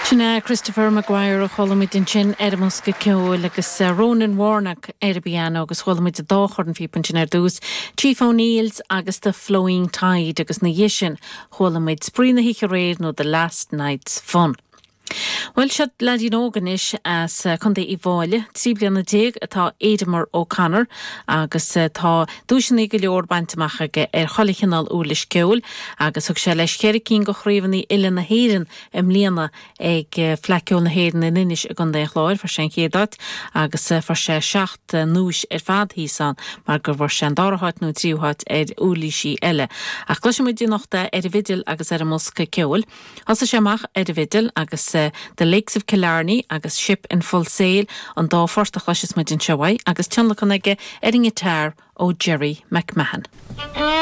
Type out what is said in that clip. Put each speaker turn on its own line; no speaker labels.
Sin é Christopher Maguire a chuala muid ansin ar an mbosca ceoil agus Ronan Warnock ar an bpianó agus chuala muid an dá chornphíopa ansin ar dtús, Chief O'Neill's agus The Flowing Tide agus ina dhiaidh sin chuala muid Spraoi na hOíche Aréir nó The Last Night's Fun. Bhuel, seo leaidín óg anois as Contae Uíbh Fhailí, 13 bliana atá Aidemer O'Connor agus tá duaiseanna go leor bainte amach aige ar chuile chineál uirlis ceoil agus thug sé leis cheithre cinn de chraobhanna uile na hÉireann i mbliana ag Fleadh Ceoil na hÉireann in Inis i gContae an Chláir. Fuair sé an chéad áit agus fuair sé seacht nduais ar fad thíos ann mar go bhfuair sé an dara háit nó an tríú háit ar uirlisí eile. Ach cloisfidh muid anocht é ar an bhfidil agus ar an mbosca ceoil. Thosaigh sé amach ar an bhfidil agus The Lakes of Killarney agus Ship in Full Sail an dá phort a chloisfeas muid anseo uaidh agus tionlacan aige ar an ngiotár ó Gerry McMahon.